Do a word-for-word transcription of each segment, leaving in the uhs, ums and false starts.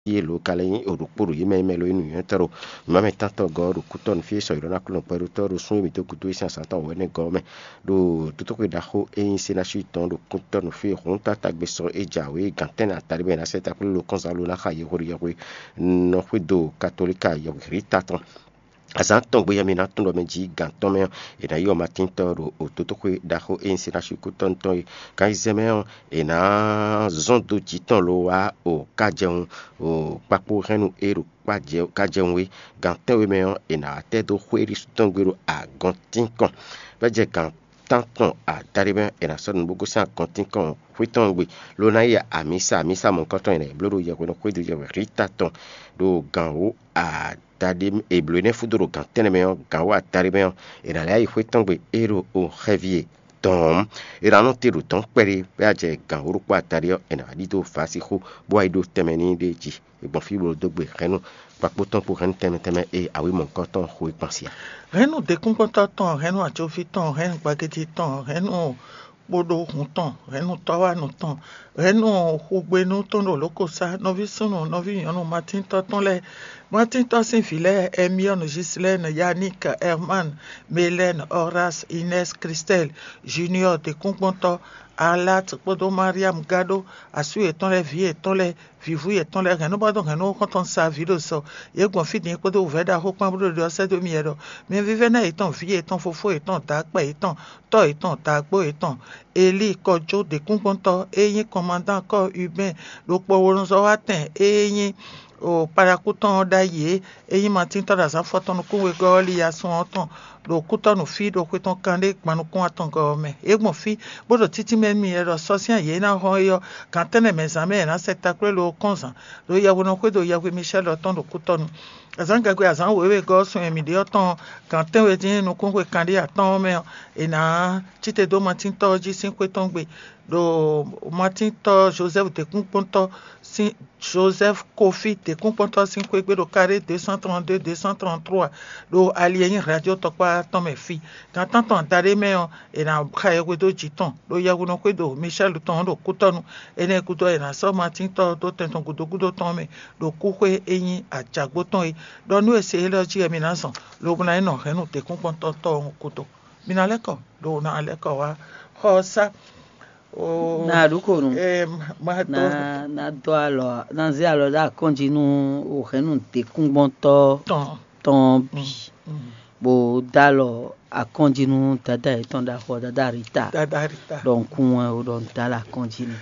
Yě lǒ ka lɛ́ nyí ɖokpó ɖo yě mɛ e mɛ lo nyí nǔnywɛ́tɔ́ ɖo nǔmɛtɔ́tɔ́ gɔ́ ɔ́ ɖo kútɔ́ nú fí e sɔyǐɖɔ́ ná kplɔ́n nǔ kpɛɖótɔ́ ɖo sún e mǐ dó gúdo e sín azǎn tɔn wɛ̌nɛ́ gɔ́ ɔ́ mɛ, ɖo tótóxwe ɖaxó e nyí Senási tɔn ɖo kútɔ́ nú fí e hǔn tántagbe sɔ e jǎwe gǎn tɛ́nnɛ adaɖé mɛ è nǎ sɛ́ ta kplé lo kɔ́nzán lo ná xa yɛhweɖo yɛhwe nɔ xwedó katolíka yɛhwehlíta tɔn. Azǎn tɔn gbe yɛ mi ná tún ɖɔ mɛ jí gǎn tɔn mɛ ɔ́, è nǎ yi ɔ́ Matín tɔn ɖo tótóxwe ɖaxó e nyí Senási kútɔ́ tɔn é. Kan yi zɛ mɛ ɔ́, è nǎ zɔ́n dó jǐ tɔn lo wá o kájɛwun o kpakpó hɛ́nnu e ɖo kájɛwun é. Gǎn tɛ́nwe mɛ ɔ́, è nǎ wá tɛ́ dó xwé ɖésú tɔn gbe ɖo agɔntínkɔn. Bɔ é jɛ gǎn tántɔn adaɖé mɛ, è nǎ sɔ́ nǔ bó gosín agɔntínkɔn xwé tɔn gbe, ló ná yi amǐsa, amǐsa mɔ̌hunkɔtɔn è nǎ yi bló ɖo yɛhweɖɔ xwédo yɛhwehlíta tɔn ɖo gǎn wǒ adaɖé è blǒ énɛ́ fúdo ɖo gǎn tɛ́nnɛ mɛ ɔ́, gǎn wǒ adaɖé mɛ ɔ́, è nǎ lɛ́ yi xwé tɔn gbe é ɖo o xɛví e dɔn ɔ́, è nǎ nɔ te ɖo dɔ̌n kpɛɖé bɔ é wá jɛ gǎn wǒ ɖokpó adaɖé ɔ́, è nǎ wá ɖidó vǎ sixú bó wá yi ɖó tɛnmɛ n'i ɖ'é jí. È gbɔn fí bó dó gbe hɛ̌nnu kpakpó tɔn kpó hɛ̌nnu tɛnmɛ tɛnmɛ e awǐ mɔ̌hunkɔtɔn xo é kpan sí ǎ. Hɛ̌nnu děkúngbɔ́ntɔ́ tɔn, hɛ̌nnu ajɔví tɔn, hɛ̌nnu gbagéjí tɔn, hɛ̌nnu kpódó hun tɔn, hɛ̌nnu tɔ́wánu tɔn, hɛ̌nnu xugbenú tɔn ɖo lǒkosá, nɔví súnnu, nɔví nyɔ̌nu, matíntɔ́ tɔn lɛ́ɛ, matíntɔ́ sín vǐ lɛ́ɛ, Ɛmiɔ́nu, Jislɛ́ɛnu, Yaník, Ɛrmán, Melɛ́ɛnu, Ɔrás, Inɛ́s, Kristɛ́l, Juniɔ́ɔ děkúngbɔ́ntɔ́, Alát kpódó Mariámu gán ɖó asú yětɔn lɛ́ɛ, vǐ yětɔn lɛ́ɛ, vǐvú yětɔn lɛ́ɛ, hɛ̌nnúbɔ́dɔn hɛ̌nnu xɔ́ntɔn sa vǐ ɖo sɔ. Yě gbɔn fí din kpódó wǔvɛ́ ɖaxó kpán bó ɖo ɖiɖɔ sɛ́ dó mì wɛ ɖɔ: Mi vívɛ́ná yětɔn, vǐ yětɔn, fofó yětɔn, dǎkpɛ yětɔn, tɔ́ yětɔn, dǎgbó yětɔn, Elíi kɔjó děkúngbɔ́ntɔ́ e nyí kɔmandán kɔ́ Ubɛ́ɛn ɖo kpɔwolunzɔ́watɛn e nyí o Palakú tɔn ɔ́ ɖ'ayǐ é, e nyí Matín tɔ́ ɖo azǎn afɔtɔn nukún wegɔ́ ɔ́ li asɔn ɔ́ tɔn ɖo kútɔ́ nú fí ɖo xwe tɔn kanɖé gban nukún atɔngɔ́ ɔ́ mɛ. Yě gbɔn fí bó ɖo títínmɛ nú mì wɛ ɖɔ sɔ sín ayǐ e ná hɔn é ɔ́, gǎn tɛ́nnɛ mɛ zǎn mɛ è nǎ sɛ taklwé lo kɔ́nzǎn ɖo yɛhweɖɔ xwédo yɛhwe Micɛ́li ɔ́ tɔn ɖo kútɔ́nu. Azǎngagbe azǎn wěwegɔ́ ɔ́ sun e mǐ ɖe ɔ́ tɔn gǎn tɛ́nwe dín nukúnxwe kanɖé atɔ́ɔ́n mɛ ɔ́, è nǎ cí te dó Matín tɔ́ ɔ́ jí sín xwé tɔn gbe, ɖo Matín tɔ́ Jozɛ́fu děkúnkpɔ́ntɔ́ sín Jozɛ́fu Kofí děkúnkpɔ́ntɔ́ sín xwé gbe ɖo carré deux cent trente-deux, deux cent trente-trois, ɖo ali e nyí Hladyó tɔkpá tɔn mɛ fí. Gan tántɔn adaɖé mɛ ɔ́, è nǎ xa yɛhweɖó jǐ tɔn ɖo yɛhweɖɔ xwédo Micɛ́lu tɔn ɔ́ ɖo kútɔ́nu. Énɛ́ gúdo ɔ́, è nǎ sɔ́ Matín tɔ́ ɔ́ dó tɛn tɔn gǔdo gúdo tɔn ɔ́ mɛ ɖo kúxwé e nyí ajǎgbó tɔn é, ɖɔ nú è se élɔ́ jí wɛ mi ná zɔn, lobo ná yi nɔ hɛ̌nnu děkúnkpɔ́ntɔ́ tɔn ɔ́ gúdo. Mi ná lɛ́ kɔ, ɖo ná lɛ́ kɔ wá xɔ ɔ́ sá. Na ɖu ko nu. Na na dɔ alɔ, na zé alɔ ɖe akɔn jí nú o hɛ̌nnu děkúngbɔ́ntɔ́ tɔn ɔ́ bǐ, bó dó alɔ akɔn jí nú dada yětɔn ɖaxó ɔ́, dada Rita. Dada Rita. Ɖɔ un kún wɛn o, ɖɔ un dó alɔ akɔn jí n'i.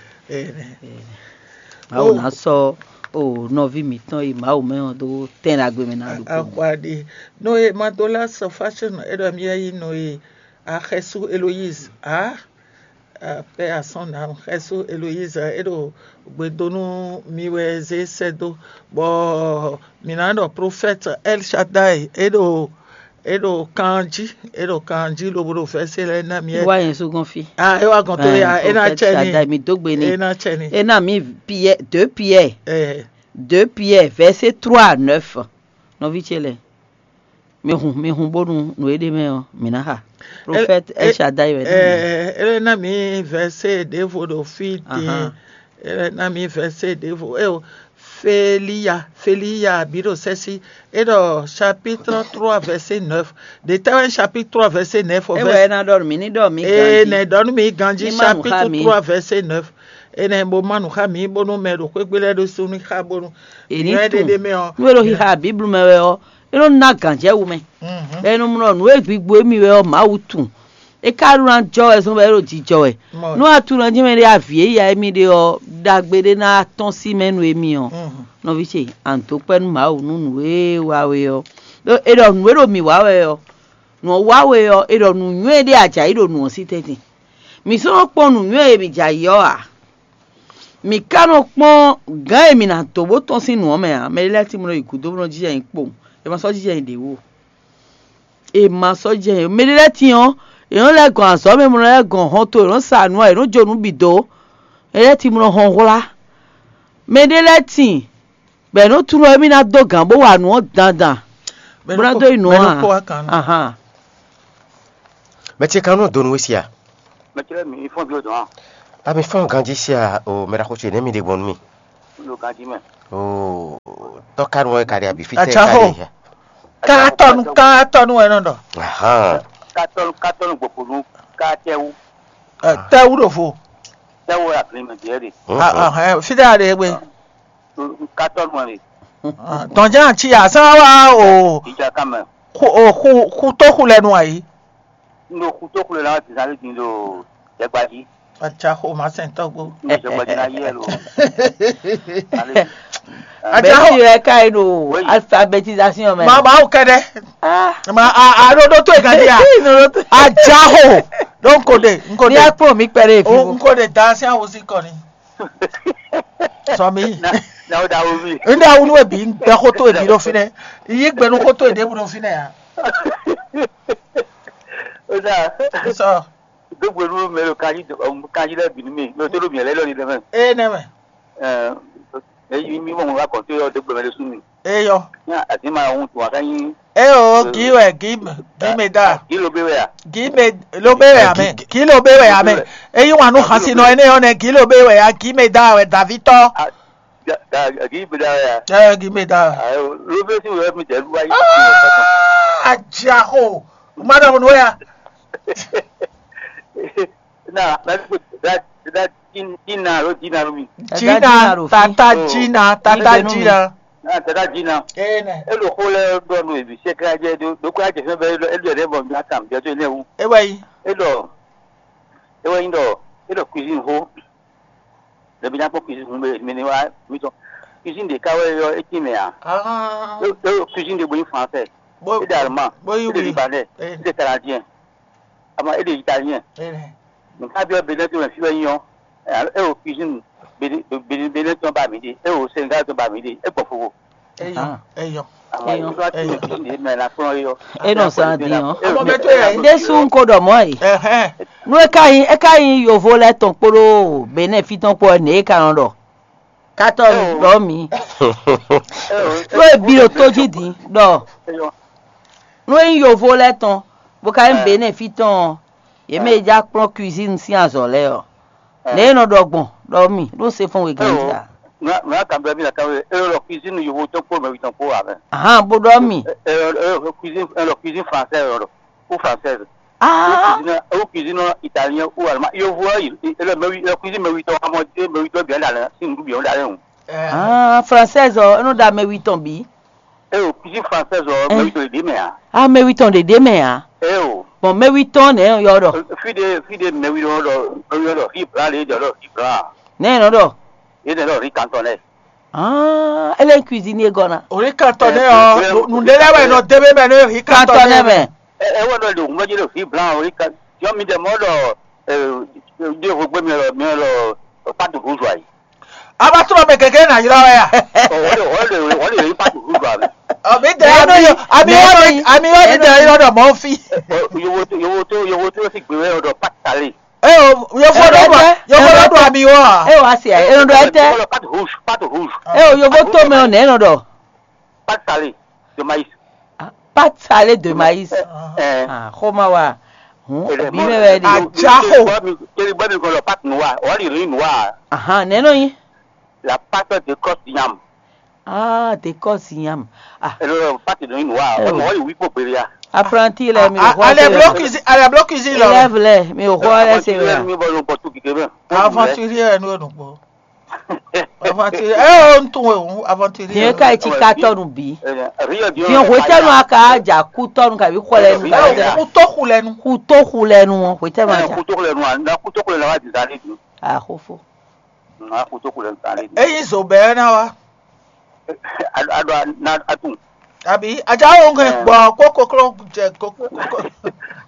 Mawu ná sɔ́ o nɔví mǐtɔn e Mawu mɛ ɔ́ dó tɛn ɖagbe mɛ ná ɖu ko. Axwaɖi. Nɔ e Madola sɔ fashion e ɖɔ mì yɛ yi nɔ e Axɛsu Eloise a Père à son âme, Xɛsu Eloise, é ɖo gbe dó nú mi wɛ zé sɛ́ dó, bɔ mǐ ná ɖɔ Prophète El Shaddai, é ɖo é ɖo kan jí, é ɖo kan jí lobo ɖo vɛ̌sé lɛ́ɛ ná mi. Wá yẹn sú gɔn fí. Ah, é wá gɔn tó ya, é ná Prophète cɛ ni. Shaddai, mi dó gbe ni. É ná cɛ ni. É ná mi Pierre, deux Pierre. Eh, deux Pierre, verset trois à neuf. Nɔví ce lɛ. Mi hun, mi hun bónú nǔ e ɖ'é mɛ ɔ́, mǐ ná xa. Prophète El Shaddai wɛ. Eh, ele na mi verset ɖěvo ɖo fí din. Ele na mi verset ɖěvo. Eh, Feliya, Feliya bǐ ɖo sɛ́sí. É ɖɔ chapitre trois verset neuf. Ɖě tɛ́ wɛ chapitre trois verset neuf. É wɛ é ná ɖɔ nú mǐ ní ɖɔ mǐ ganjí. Nɛ ɖɔ nú mǐ ganjí. Chapitre trois verset neuf. Énɛ́ bó má nǔ xá mǐ bónú mɛ ɖo xwé gbe lɛ́ɛ ɖésú ní xá bónú. È ní tunwun. Nú é ɖo xixa Bíblu mɛ wɛ ɔ́, é nɔ ná gǎnjɛwú mɛ. Bɔ è nɔ mlɔ nǔ e gbigbo émí wɛ ɔ́, Mawu tunwun. É ka ɖó ná jɔ wɛ zɔn bɔ é ɖo jijɔ wɛ. Nú a tunwun ná jɛ́n mɛ ɖé avǐ e ya émí ɖe ɔ́, ɖagbe ɖé ná tɔ́n sí mɛ nú émí ɔ́, nɔví ce, a nǐ dó kpɛ́ nú Mawu nú nǔ e wa we ɔ́. Ɖó è ɖɔ nǔ e ɖo mǐ wa wɛ ɔ́, nǔ ɔ́ wa we ɔ́, è ɖɔ nǔnywɛ́ ɖé a jǎ yi ɖo nǔ ɔ́ sí tɛ́ntin. Mǐ sɔ́ nɔ kpɔ́n nǔnywɛ́ e mǐ jǎ yi ɔ́ ǎ. Mǐ ka nɔ kpɔ́n gǎn e mǐ ná dó bó tɔ́n sín nǔ ɔ́ mɛ ǎ. Mɛ ɖé lɛ́ɛ tín bó nɔ yi gǔdo bó nɔ jínjɔ́n nyi kpowun. È ma sɔ́ jínjɔ́n nyi ɖě wú o. È ma sɔ́ jínjɔ́n nyi. Mɛ ɖé lɛ́ɛ tín ɔ́, è nɔ́ lɛ́ gɔn azɔ̌ mɛ, è nɔ lɛ́ gɔn hɔnto, è nɔ́ sa nǔ, è nɔ́ jó nǔ bǐ dó. Mɛ ɖé lɛ́ɛ tín bó nɔ hɔn hwlá. Mɛ ɖé lɛ́ɛ tín bɔ è nɔ́ tunwun émí ná dó gǎn bó wa nǔ ɔ́ dandan. Bó ná dó yi nǔ ɔ́ a? Ahan. Mɛ ce ka nɔ dó nú we sia? Mɛ ce lɛ́ɛ mi fɔ́n ví o dɔn a? Ami fɔ́n ganjí sia o, mɛ ɖaxó ce nɛ́ mi ɖe gbɔn nú mì. ɖo ganjí mɛ. Oo, tɔ́kánu wɛ ka ɖe abi fí tɛ ka ɖe ya? Katɔnu, katɔnu wɛ nɔ ɖɔ. Ahan. Katɔnu, katɔnu gbɔgbɔnu, katɛwu. Tɛwu ɖo vo. Tɛwu wɛ ablin mɛ diɛ ɖe. Fí ɖe a ɖe gbe? Katɔnu wɛ ɖe. Dɔnjɛ ati asán wa o. Ìjà kan mɛ. Xu o xu xu tó xu lɛ nu ayi. N ɖo xu tó xu lɛ nu ayi. Zan lé din ɖo jɛgba jí. Atsa xo ma sɛn tɔgbo. N ɖo jɛgba jí ná yɛ lo. Atsa xo. Bɛsi wɛ ka yi ɖo alphabétisation mɛ. Ma ma o kɛdɛ. Ah. Ma a a ɖo ɖo to e kan dia. Ajaho. Donc kode, nkode. Ni akpɔ mi kpɛrɛ fi. O nkode da si awo si kɔni. Sɔ mi. Na na o da wo mi. Nda wunu ebi gbɛ xoto ebi ɖo fi nɛ. Yi gbɛ nu xoto eɖe bu ɖo fi nɛ ya. O da. Sɔ. Dogbe nu mɛ lo kanji kanji lɛ bi nu mi. Lo to lo mi lɛ lɔ ni dɛ mɛ. E nɛ mɛ. Ɛɛ, eyi mi mɔ ŋun wá kɔn tó yɔ dogbe mɛ ɖé sú mi. Eyɔ. Ní àti máa hun tún wá ká yín. Eo, gí wɛ, gí gí mɛ da. Kí ló bé wɛ à? Gí mɛ ló bé wɛ amɛ. Gí ló bé wɛ amɛ. Eyi wan nu xasi nɔ ene yɔ nɛ gí ló bé wɛ ya gí mɛ da wɛ davitɔ. Kí bé dá wɛ à? Ɛ gí mɛ da. Ló bé sí wɛ mi jẹ́ lúwa yìí. Ajaxo. Ma dɔ nu ya. Na na da da dina lo dina lo mi. Dina, tata dina, tata dina. Na tata dina. Ene. E lo xo lɛ ɖɔ nu ebi se ka jɛ do do ko ajɛ fɛn bɛ e lo e lo yɛ bɔ mi ata mi jɛ to ne wu. E wɛ yi. E lɔ e wɛ yi dɔ e lɔ cuisine ho. Le bi na kpɔ cuisine ho mi ni wa mi tɔ. Cuisine de ka wɛ yɔ e ti mɛ a. Ah. E e cuisine de bo yi français. Bo E de allemand. Bo yi E de wi. Libanais. E de canadien. Ama e de italien. Ene. Nka bi ɔ Benin to mɛ fi wɛ nyɔ. E o cuisine Benin Benin Benin tɔn ba mi de. E o Senegal tɔn ba mi de. E gbɔ fofo. Eyɔ, eyɔ. Ama Eyɔ. Ifa ti Eyɔ. Cuisine de mɛ na kplɔn yɔ. E nɔ san din ɔ. Ọmọ bẹ tó yà yìí. Jésù ń kó dọ̀ mọ́ yìí. Ẹhẹn. Nú é ka nyí é ka nyí yovo lɛ́ɛ tɔn kpódó Benin fí tɔn kpó ɔ́, nɛ̌ é ka nɔ ɖɔ? Katɔnu ɖɔ mǐ. Ɖó è bi ɖo tó jí din ɖɔ nú é nyí yovo lɛ́ɛ tɔn bó ka nyí Benin fí tɔn ɔ́, yě mɛ e já kplɔ́n cuisine sín azɔ̌ lɛ́ɛ ɔ́, nɛ̌ é nɔ ɖɔ gbɔn ɖɔ mì ɖó se fɔ́n wegán jí a? Nua kan bɛ mi la kan we e lɔ cuisine yovo tɔn kpó mɛ tɔn kpó a mɛ. Ahan, bó ɖɔ mì. E lɔ cuisine e lɔ cuisine française lɔ ou française. Ah, Cuisine ou cuisine italien ou allemand. Yovo e lɔ mɛ wi e cuisine mɛ wi tɔn amɔ e mɛ wi tɔn bien la la si nu bien la le. Ah, française ɔ, e nɔ ɖo ame wi tɔn bǐ. E o cuisine française ɔ mɛ wi tɔn ɖe mɛ a? Ame wi tɔn ɖe ɖe mɛ a? E o. Bon, mɛ wi tɔn nɛ yɔ ɖɔ. Fi de fi de mɛ wi ɖɔ ɖɔ mɛ wi ɖɔ fi bla le ɖɔ fi bla. Nɛ nɔ ɖɔ. E nɛ ɖɔ ri kantɔn lɛ. Ah, ele cuisine gɔna. Orí kantɔn nɛ ɔ, nùdé lɛ wɛ nɔ débé mɛ ní orí kantɔn nɛ mɛ. E wɛ ɖɔ ɖo ŋgbɛdzi ɖo fi bla orí kan. Yɔ mi dɛ mɔ ɖɔ ɖe vo gbé mi lɔ mi lɔ patu rouge ayi. Aba sɔrɔ mɛ gɛgɛ na yrɔ wɛ ya. Wọ́n lè wọ́n lè wọ́n lè rí patu rouge ayi. Ɔ mi dɛ ami yɔ ami yɔ mi dɛ yrɔ ɖɔ mɔ fi. Yowo tó yowo tó yowo tó sì gbé wẹ́ ọ̀dọ̀ patu tali. E o, yofo ɖo ɖu yofo ɖo ɖu ami wɔ a? E wa se e nɔ ɖɔ etɛ. Wọ́n lọ patu rouge patu rouge. E o, yofo to mɛ o nɛ nɔ ɖɔ. Patu tali de maïs. Pâte salée de maïs. Ɛ Ah, xoma wa. Hum, obi mɛ wɛ de. Ajaxo. Keli bɔ mi kɔ lɔ pâte noire, wali riz noire. Ahan, nɛ nɔ yi. La pâte de cos yam. Ah, de cos yam. Ah, Ele pâte de noire. Wali wi ko beria. Apprenti lɛ mi o xɔ. Ale blo cuisine, ale blo cuisine lɔ. Élève lɛ mi o xɔ lɛ se wɛ. Mi bɔ lo bɔ tu kike bɛ. Aventurier nu nu kpo. Aventurier, eh, oh, n tún wɛ o, aventurier. Tiɲɛ ka yi ci katɔnu bi. Fiɛ hwetɛnu a ka ja kutɔnu kabi xɔlɛnu ka ja. Kuto xulɛnu. Kuto xulɛnu hwetɛnu a ja. Kuto xulɛnu a na kuto xulɛnu a wa di zali dun. Axofo. Na kuto xulɛnu zali dun. Eyi zo bɛɛ na wa. A do na atun. Abi aja wo ŋkɛ gbɔ kó koklo jɛ kókó.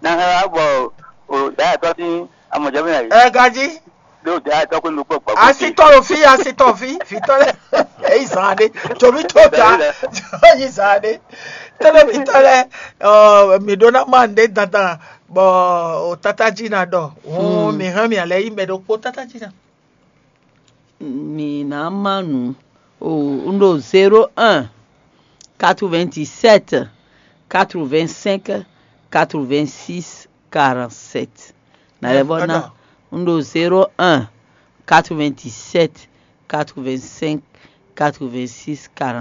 Na ha bɔ o da tɔ ti amɔjɛ mi na yi. Ɛ gaji. Ɖo da tɔ ko nukpɔ gbɔ. Asitɔ lo fi asitɔ fi fitɔ lɛ. Eyi zan ɖe tsomi to ta eyi zan ɖe. Tɛlɛ fitɔ lɛ ɔ mi ɖo na ma ɖe dandan bɔ o tata dzi na ɖɔ. Hɔn mi hɛn mi alɛ yi mɛ ɖokpo tata dzi na. Mi ná má nǔ o. Un ɖo zéro un, quatre-vingt-dix-sept, quatre-vingt-cinq, quatre-vingt-six, quarante-sept. Nalɛvɔ ná. Un ɖo zéro un, quatre-vingt-dix-sept, quatre-vingt-cinq, quatre-vingt-six, quarante.